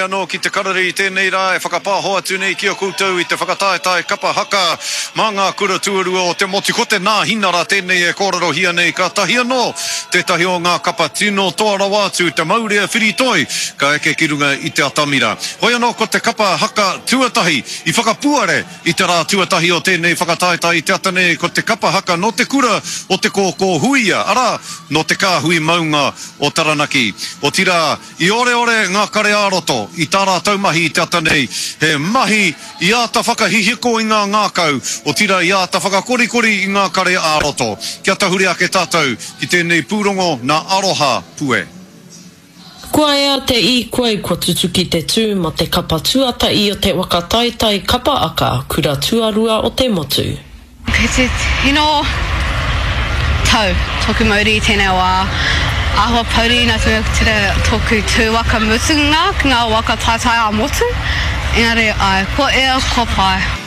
anō ki te karere i tēnei rā e whakapāho atu nei ki a koutou i te whakataetae kapa haka mā ngā kura tuarua o te motu. Ko te Nāhinara tēnei e kōrerohia nei kātahi anō tētahi o ngā kapa tino toa rawa atu te maurea whiritoi ka eke ki runga i te atamira. Hoi anō ko te kapa haka tuatahi i whakapuare I te rā tuatahi o tēnei whakataetae i te ata nei ko te kapa haka nō te kura o Te Kōkō Huia, arā, nō te kāhui maunga o Taranaki. Otirā, i oreore ngā kare ā-roto i tā rātou mahi i te ata nei, he mahi i āta whakahihiko i ngā ngākau, otirā i āta whakakorikori i ngā kare ā-roto. Kia tahuri ake tātou ki tēnei pūrongo nā Aroha Pue. Kua ea te īkoi kua tutuki te tū ma te kapa tuatahi o te waka taitai kapa aka kura tuarua o te motu. Kei te tino tau toku mauri i tenei wa. Ahua pouri na te mea ko tera toku tu waka mutunga ki nga waka taitai a motu. Engari ae, kua ea, kua pai.